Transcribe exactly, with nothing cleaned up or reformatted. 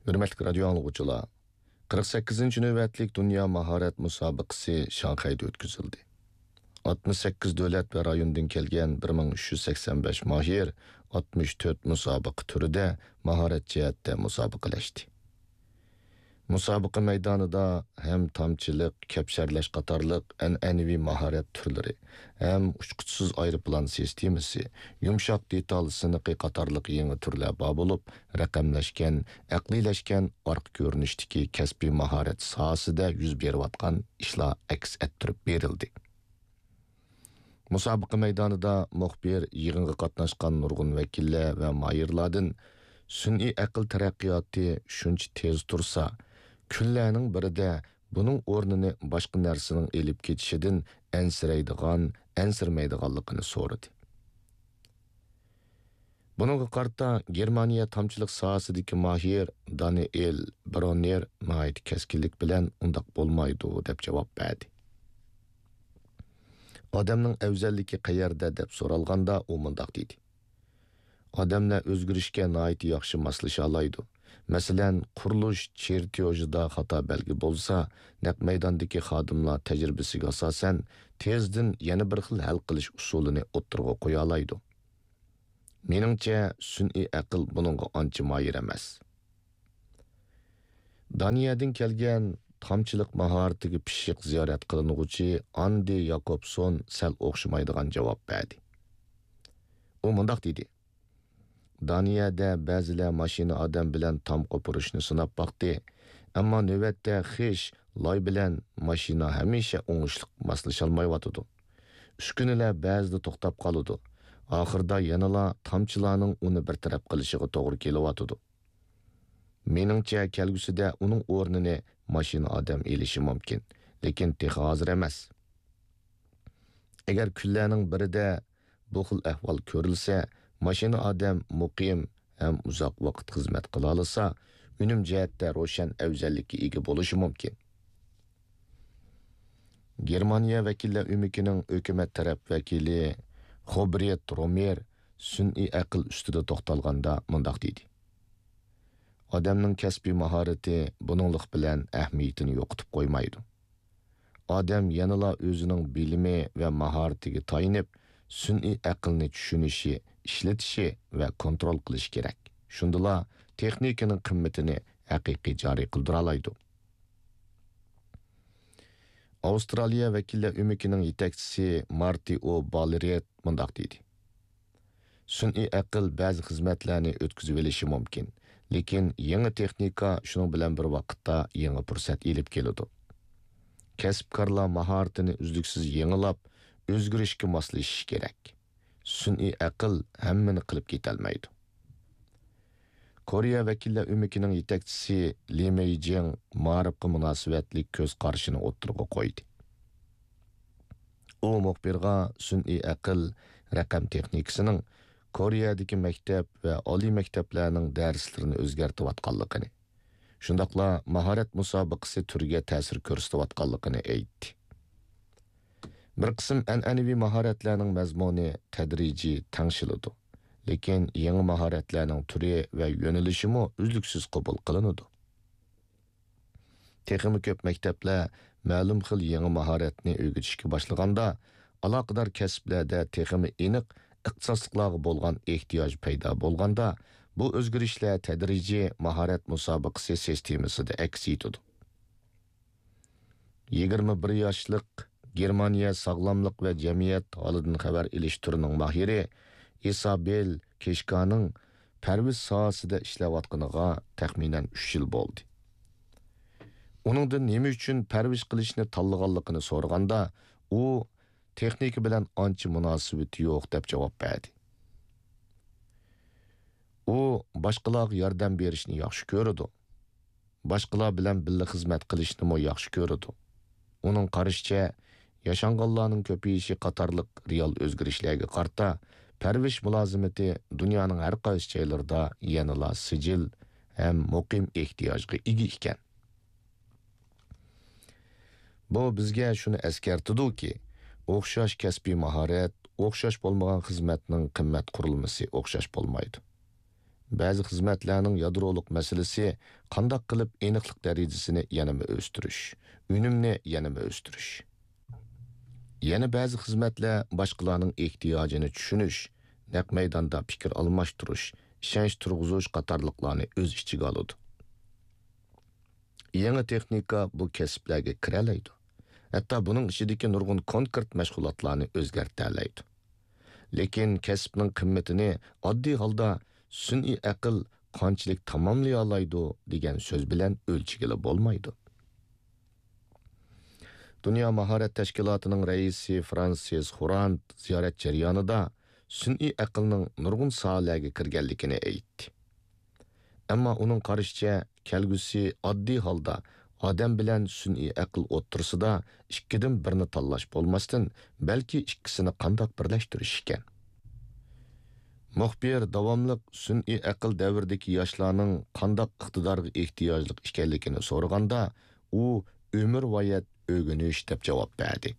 ھۆرمەتلىك رادىيو ئاڭلىغۇچىلار، قىرىق سەككىزىنچى نۆۋەتلىك دۇنيا ماھارەت مۇسابىقىسى شاڭخەيدە ئۆتكۈزۈلدى. ئاتمىش سەككىز دۆلەت ۋە رايوندىن كەلگەن بىر مىڭ ئۈچ يۈز سەكسەن بەش ماھىر ئاتمىش تۆت مۇسابىقە تۈرىدە ماھارەت جەھەتتە مۇسابىقىلەشتى. مۇسابىقە مەيدانىدا ھەم تامچىلىق، كەپشەرلەش قاتارلىق ئەنئەنىۋى ماھارەت تۈرلىرى، ھەم ئۇچقۇچىسىز ئايروپىلان سىستېمىسى، يۇمشاق دېتال سىنىقى قاتارلىق يېڭى تۈرلەر بار بولۇپ، رەقەملەشكەن، ئەقلىيلەشكەن ئارقا كۆرۈنۈشتىكى كەسپىي ماھارەت ساھەسىدە يۈز بېرىۋاتقان ئىشلار ئەكس ئەتتۈرۈپ بېرىلدى. مۇسابىقە مەيدانىدا مۇخبىر يىغىنغا قاتناشقان نۇرغۇن ۋەكىللەر ۋە ماھىرلاردىن سۈنئىي ئەقىل تەرەققىياتى شۇنچە تېز تۇرسا، كۈنلەرنىڭ بىرىدە بۇنىڭ ئورنىنى باشقا نەرسىنىڭ ئېلىپ كېتىشىدىن ئەنسىرەيدىغان، ئەنسىرىمەيدىغانلىقىنى سورىدى. بۇنىڭغا قارىتا گېرمانىيە تامچىلىق ساھەسىدىكى ماھىر دانىئېل بروننېر ناھايىتى كەسكىنلىك بىلەن ئۇنداق بولمايدۇ دەپ جاۋاب بەردى. ئادەمنىڭ ئەۋزەللىكى قەيەردە دەپ سورالغاندا ئۇ مۇنداق دېدى: ئادەملەر ئۆزگىرىشكە ناھايىتى ياخشى ماسلىشالايدۇ. مەسىلەن، قۇرۇلۇش چېرتيوژىدا خاتا بەلگە بولسا، نەق مەيداندىكى خادىملار تەجرىبىسىگە ئاساسەن تېزدىن يەنە بىر خىل ھەل قىلىش ئۇسۇلىنى ئوتتۇرىغا قويالايدۇ. مېنىڭچە، سۈنئىي ئەقىل بۇنىڭغا ئانچە ماھىر ئەمەس. دانىيەدىن كەلگەن تامچىلىق ماھارىتىگە پىششىق زىيارەت قىلىنغۇچى ئاندى ياكوبسون سەل ئوخشىمايدىغان جاۋاب بەردى. ئۇ مۇنداق دېدى: دانىيەدە بەزىلەر ماشىنا ئادەم بىلەن تام قوپۇرۇشنى سىناپ باقتى، ئەمما نۆۋەتتە خىش، لاي بىلەن ماشىنا ھەمىشە ئوڭۇشلۇق ماسلىشالمايۋاتىدۇ. ئۈسكۈنىلەر بەزىدە توختاپ قالىدۇ. ئاخىرىدا يەنىلا تامچىلارنىڭ ئۇنى بىر تەرەپ قىلىشىغا توغرا كېلىۋاتىدۇ. مېنىڭچە، كەلگۈسىدە ئۇنىڭ ئورنىنى ماشىنا ئادەم ئېلىشى مۇمكىن، لېكىن تېخى ھازىر ئەمەس. ئەگەر كۈنلەرنىڭ بىرىدە بۇ خىل ئەھۋال كۆرۈلسە، ماشىنا ئادەم مۇقىم ھەم ئۇزاق ۋاقىت خىزمەت قىلالىسا، ئۈنۈم جەھەتتە روشەن ئەۋزەللىككە ئىگە بولۇشى مۇمكىن. گېرمانىيە ۋەكىللەر ئۆمىكىنىڭ ھۆكۈمەت تەرەپ ۋەكىلى خوبريېت رومېر سۈنئىي ئەقىل ئۈستىدە توختالغاندا مۇنداق دېدى: ئادەمنىڭ كەسپىي ماھارىتى بۇنىڭلىق بىلەن ئەھمىيىتىنى يوقىتىپ قويمايدۇ. ئادەم يەنىلا ئۆزىنىڭ بىلىمى ۋە ماھارىتىگە تايىنىپ، سۈنئىي ئەقىلنى چۈشىنىشى، ئىشلىتىشى ۋە كونترول قىلىشى كېرەك. شۇندىلا تېخنىكىنىڭ قىممىتىنى ھەقىقىي جارى قىلدۇرالايدۇ. ئاۋسترالىيە ۋەكىللەر ئۆمىكىنىڭ يېتەكچىسى مارتى ئو بالرېت مۇنداق دېدى: سۈنئىي ئەقىل بەزى خىزمەتلەرنى ئۆتكۈزۈۋېلىشى مۇمكىن، لېكىن يېڭى تېخنىكا شۇنىڭ بىلەن بىر ۋاقىتتا يېڭى پۇرسەت ئېلىپ كېلىدۇ. كەسىپكارلار ماھارىتىنى ئۈزلۈكسىز يېڭىلاپ، ئۆزگىرىشكە ماسلىشىشى كېرەك. سۈنئىي ئەقىل ھەممىنى قىلىپ كېتەلمەيدۇ. كورېيە ۋەكىللەر ئۆمىكىنىڭ يېتەكچىسى لى مېيجىڭ مائارىپقا مۇناسىۋەتلىك كۆز قارىشىنى ئوتتۇرىغا قويدى. ئۇ مۇخبىرغا سۈنئىي ئەقىل، رەقەم تېخنىكىسىنىڭ كورېيەدىكى مەكتەپ ۋە ئالىي مەكتەپلەرنىڭ دەرسلىرىنى ئۆزگەرتىۋاتقانلىقىنى، شۇنداقلا ماھارەت مۇسابىقىسى تۈرىگە تەسىر كۆرسىتىۋاتقانلىقىنى ئېيتتى. بىر قىسىم ئەنئەنىۋى ماھارەتلەرنىڭ مەزمۇنى تەدرىجىي تەڭشىلىدۇ، لېكىن يېڭى ماھارەتلەرنىڭ تۈرى ۋە يۆنىلىشىمۇ ئۈزلۈكسىز قوبۇل قىلىنىدۇ. تېخىمۇ كۆپ مەكتەپلەر مەلۇم خىل يېڭى ماھارەتنى ئۆگىتىشكە باشلىغاندا، ئالاقىدار كەسىپلەردە تېخىمۇ ئېنىق ئىختىساسلىقلارغا بولغان ئېھتىياج پەيدا بولغاندا، بۇ ئۆزگىرىشلەر تەدرىجىي ماھارەت مۇسابىقىسى سىستېمىسىدا ئەكس ئېتىدۇ. يىگىرمە بىر ياشلىق گېرمانىيە ساغلاملىق ۋە جەمئىيەت ھالىدىن خەۋەر ئېلىش تۈرىنىڭ ماھىرى ئىسابېل كېشكانىڭ پەرۋىش ساھەسىدە ئىشلەۋاتقىنىغا تەخمىنەن ئۈچ يىل بولدى. ئۇنىڭدىن نېمە ئۈچۈن پەرۋىش قىلىشنى تاللىغانلىقىنى سورىغاندا، ئۇ تېخنىكا بىلەن ئانچە مۇناسىۋىتى يوق دەپ جاۋاب بەردى. ئۇ باشقىلارغا ياردەم بېرىشنى ياخشى كۆرىدۇ. باشقىلار بىلەن بىللە خىزمەت قىلىشنىمۇ ياخشى كۆرىدۇ. ئۇنىڭ قارىشىچە، ياشانغانلارنىڭ كۆپىيىشى قاتارلىق رېئال ئۆزگىرىشلەرگە قارىتا، پەرۋىش مۇلازىمىتى دۇنيانىڭ ھەر قايسى جايلىرىدا يەنىلا سىجىل ھەم مۇقىم ئېھتىياجغا ئىگە ئىكەن. بۇ بىزگە شۇنى ئەسكەرتىدۇكى، ئوخشاش كەسپىي ماھارەت، ئوخشاش بولمىغان خىزمەتنىڭ قىممەت قۇرۇلمىسى ئوخشاش بولمايدۇ. بەزى خىزمەتلەرنىڭ يادرولۇق مەسىلىسى قانداق قىلىپ ئېنىقلىق دەرىجىسىنى يەنىمۇ ئۆستۈرۈش، ئۈنۈمنى يەنىمۇ ئۆستۈرۈش. يەنە بەزى خىزمەتلەر باشقىلارنىڭ ئېھتىياجىنى چۈشىنىش، نەق مەيداندا پىكىر ئالماشتۇرۇش، ئىشەنچ تۇرغۇزۇش قاتارلىقلارنى ئۆز ئىچىگە ئالىدۇ. يېڭى تېخنىكا بۇ كەسىپلەرگە كىرەلەيدۇ. ھەتتا بۇنىڭ ئىچىدىكى نۇرغۇن كونكرېت مەشغۇلاتلارنى ئۆزگەرتەلەيدۇ. لېكىن كەسىپنىڭ قىممىتىنى ئاددىي ھالدا سۈنئىي ئەقىل قانچىلىك تاماملىيالايدۇ دېگەن سۆز بىلەن ئۆلچىگىلى بولمايدۇ. دۇنيا ماھارەت تەشكىلاتىنىڭ رەئىسى فرانسىس خورانت زىيارەت جەريانىدا سۈنئىي ئەقىلنىڭ نۇرغۇن ساھەلەرگە كىرگەنلىكىنى ئېيتتى. ئەمما ئۇنىڭ قارىشىچە، كەلگۈسى ئاددىي ھالدا ئادەم بىلەن سۈنئىي ئەقىل ئوتتۇرىسىدا ئىككىدىن بىرنى تاللاش بولماستىن، بەلكى ئىككىسىنى قانداق بىرلەشتۈرۈش ئىكەن. مۇخبىر داۋاملىق سۈنئىي ئەقىل دەۋرىدىكى ياشلارنىڭ قانداق ئىقتىدارغا ئېھتىياجلىق ئىكەنلىكىنى سورىغاندا، ئۇ ئۆمۈرۋايەت ئۆگىنىش دەپ جاۋاب بەردى.